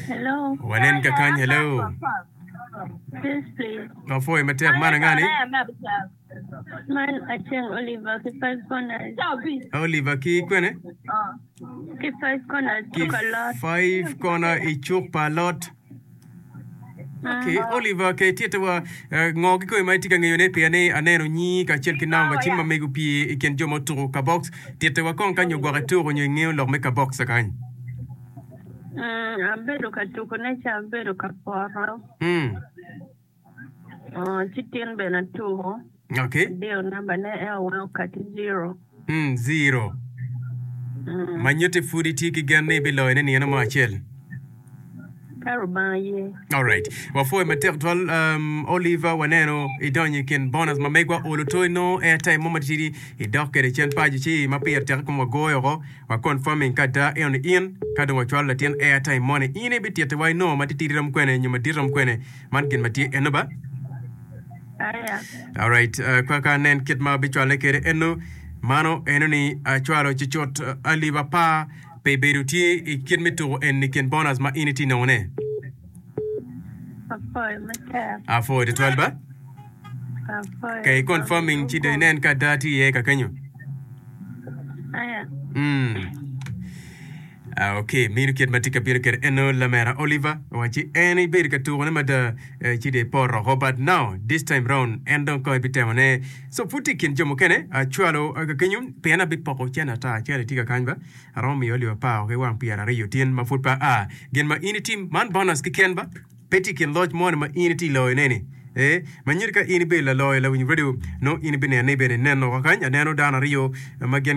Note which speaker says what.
Speaker 1: Hello.
Speaker 2: Wanen kakany, hello.
Speaker 1: Yes, please.
Speaker 2: Wapwoyo matek man angani?
Speaker 1: Man Aceng Oliver ki Five Corners.
Speaker 2: Oliver ki kwene?
Speaker 1: Ki Five Corners
Speaker 2: Ki
Speaker 1: cuk alot.
Speaker 2: Five Corner i cuk pa alot. Okay, Oliver ke tite wa eh, ngo ki kome ma itye ka ngeyone pien ni aneno nyingi kacel ki namba cim ma mego pye i kin jo ma otuko ka box. Tite wa kong ka nyo gwok ituko nyo ingeyo lok me ka box kany.
Speaker 1: Mm, abedo ka tukone ca abedo ka poto.
Speaker 2: Mm.
Speaker 1: Oh, ci tin bene atuko.
Speaker 2: Okay.
Speaker 1: Adiyo nambane ento weng okati zero.
Speaker 2: Mm, zero.
Speaker 1: Mm.
Speaker 2: Ma nyutti pud itye ki gen ni ibiloyone nino mo acel.
Speaker 1: Ka Rubanga ye.
Speaker 2: Alright. Wapwoyo matek twal um, Oliver waneno idonyo i kin bonus ma megwa olo to inongo airtime mo matitidi idok kwede cen paco ci ma pire tek kom wagoyo oko wa confirming ka ada eno ni in ka dong wacwalo latin airtime moni in ibititiwa inongo matitidi rom kwene nyo madit rom kwene Man gin ma tye eno ba.
Speaker 1: Aya.
Speaker 2: Alright, uh, kwa ka nen kit ma bicwale kede eno. Mano eno ni acwalo cucut uh, alip apar pe bedo tye i kit me tuko eni kin bonus ma in itye nongo ne.
Speaker 1: Apwoyo matek.
Speaker 2: Apwoyo tutwal ba.
Speaker 1: Apwoyo.
Speaker 2: Kay confirming ci do inen ka ada tye iye ka kenyo.
Speaker 1: Aya.
Speaker 2: Mm. Ah, ok, mino kit ma tye ka bino kwede eno lamera Oliver owacci en ibedo ka tukone mada eh, ci dong ipoto oko but now this time round en dong kong ebitemo ne so pud tye i kin jo mukene acwalo eh, kakenyo pien abipoko cene ata cene tye kakany ba aromo miyo alip apar ki wang pyeraryo tin ma pud pe aa gin ma in itim man bonus keken ba pe tye i kin loc moni ma in itye iloyo ne ni eh ma nyuto ka in ibedo laloyo lawiny radio nongo in ibineno ni bene ineno kakany aneno dano aryo ma gin.